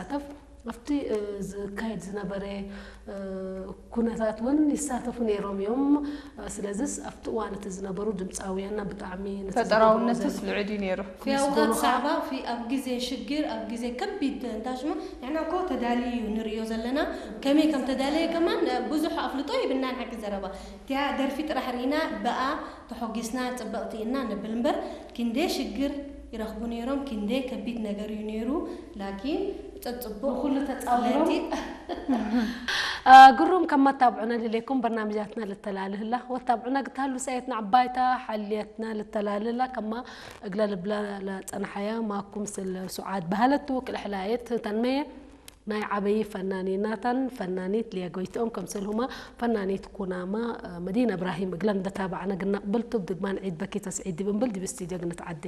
ዝሳተፍ ኣብቲ ዝካየድ ዝነበረ ኩነታት እውን ይሳተፉ ነይሮም እዮም። ስለዚስ ኣብቲ እዋን እቲ ዝነበሩ ድምፃውያንና ብጣዕሚ ፈጠራውነትስ ልዑል እዩ ነይሩ። في أوقات صعبة في ኣብ ግዜ ሽግር ኣብ ግዜ ከቢድ እንታይ ሽሙ ንሕና እኮ ተዳልዩ እዩ ንርእዮ ዘለና። ከመይ ከም ተዳለየ ከማን ብዙሕ ኣፍልጦ ይብናን ሓቂ ዘረባ እቲያ ደርፊ ጥራሕ ርኢና ብኣ ተሖጊስና ጽብቕቲ እና ንብል እምበር ክንደይ ሽግር ይረኽቡ ነይሮም። ክንደይ ከቢድ ነገር እዩ ነይሩ። ላኪን ጸጽቡቕ ኩሉ ተጻዊሮም ለቲ ግሩም ከማ ታብዑና ልሌኩም በርናምጃትና ልተላልህላ ወታብዑና ግታሉ ሰየትና ዓባይታ ሓልየትና ልተላልህላ ከማ እግለ ልብላ ለጸንሓያ ማኩም ስል ሱዓድ ባህለቱ ክልሕላየት ተንመየ ናይ ዓበይ ፈናኒ ናታን ፈናኒት ሊያ ጎይትኦም ከምሰልሁማ ፈናኒት ኩናማ መዲና እብራሂም እግለን ደታባዕና ግናቕብል ቱብ ድግማን ዒድ በኪ ተስዒድ ዲብ እምብል ዲብ ስቱዲዮ ግንትዓደ